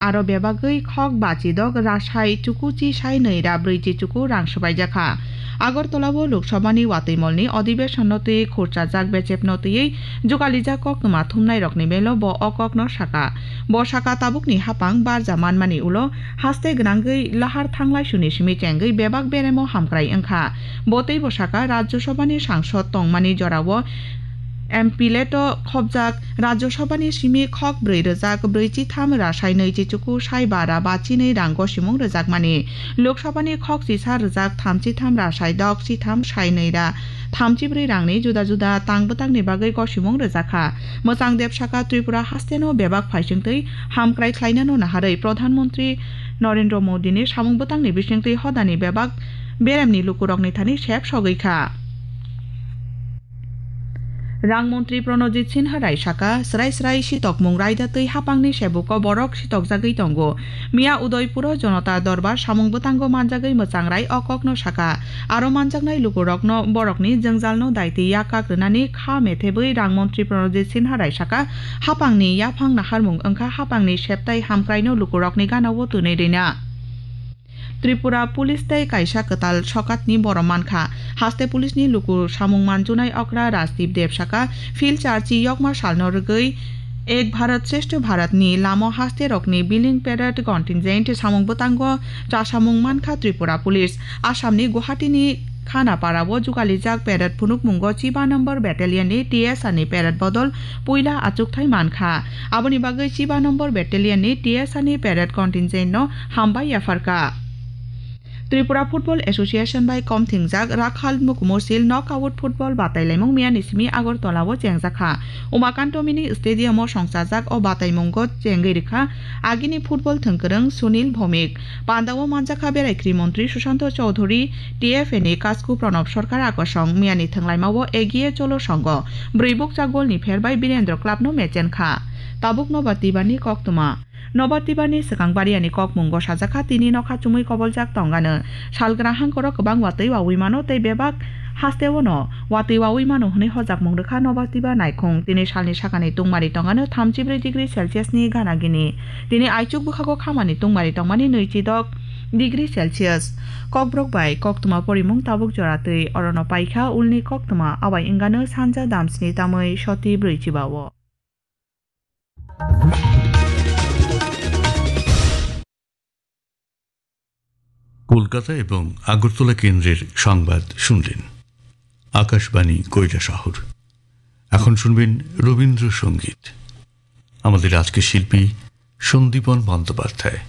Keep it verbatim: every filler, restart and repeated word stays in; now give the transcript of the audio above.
Aro bebagwi khok bachidok rasai chukuchi sai nwi ra brwichi chuku rang swbaijakha. Agartala o Lok Sabha ni watwi mol ni adhibeshon no twi khurchajak bechep no twiwi jugalijak koktwma thumnai rokni melo bo o kok no saka. Bo saka tabuk ni hapang barja manmani ulo haste gwnangwi lahar thanglai suni simi chengwi bebak beremo hamkrai wngkha. Bo teibo saka Rajya Sabha ni sangsod tongmani jorao M P leto khobjak Rajya Sabha ni simi khok brwi rwjak brwi chitham rasai nwi chichuku sai bara ba chinwi rang gosimung rwjakmani. Lok Sabha ni khok chisa rwjak thamchi tham rasai dok chitham sai nwi ra thamchi brwi rangni juda juda tang bwtangni bagwi gosimung rwjakha. Mwchang Deb saka Tripura hasteno bebak phaisingtwi hamkrai khlainano naharwi Pradhan Mantri Narendra Modi ni samung bwtangni bisingtwi hodani bebak beremni lukurokni thani sep sogwi kha. Rang montri Pranojit Sinha Rai saka, srai srai sitokmung raida twi hapangni sebuko borok sitokjagwi tongo. Miya Udaipuro Jonota Dorbar samung bwtango manjagwi mwchang rai o kokno saka. Aro manjaknai lukurokno borokni jwngjalno daitwi yakak rwnani kha methebwi rang montri Pranojit Sinha Rai saka, hapangni yaphang naharmung wngkha hapangni septai hamkraino lukurokni ganao twnwi rwna. Tripura Police tei kaisa kwtal sokatni borom mankha. Haste Police ni luku samung manjunai okra Rajdeep Deb saka, phil charchi yokma salno rwgwi Ek Bharat Shreshtha Bharat ni lamo haste rokni billing parade contingent samung bwtango chasamung mankha Tripura Police. Assam ni Guwahati ni Khanapara o jugalijak parade phunukmungo chiba number battalion ni T S R ni parade bodol puila achukthai mankha. Aboni bagwi chiba number battalion ni T S R ni parade contingent no hambai yapharkha. Tripura Football Association bai kom thingjak Rakhal Mukumosil knockout football batailaimung miyani simi Agartala o chengjakha. Umakanto Mini Stadium o songchajak o bataimungo chengwi rikha agini football thwngkwrwng Sunil Bhowmik. Pandao manjakha Berai Kri Montri Sushanto Chowdhury, T F A ni Kasku Pranab Sarkar Akosong miyani thwnglaimao Egiye Cholo Songho. Bwrwi bukcha golni pher bai Birendra Club no mechenkha. Tabuk Nobar Tibani koktwma. Nobar Tibani swkang bariani kokmungo sajakha, tini nokha chumui koboljak tongano. Salgra hangkoro kwbang watwi wawi mano tei bebak hasteo no watwi wawi mano hwnwi hojakmung rwkha Nobar Tiba naikhung. Tini salni sakani tungmari tongano thamchi brwi degree Celsius ni gana gini. Tini aichuk bwkhago khamani tungmari tongmani nwichidok degree Celsius. Kokborok bai koktwma porimung tabuk jora twi orono paikha, ulni koktwma abai wngano sanja damsni tamwi soti brwi chiba o. Kolkata এবং আগরতলা কেন্দ্রের সংবাদ শুনলেন। আকাশবাণী কৈলাসহর। এখন শুনবেন রবীন্দ্রসঙ্গীত। আমাদের আজকের শিল্পী সন্দীপন বন্দ্যোপাধ্যায়।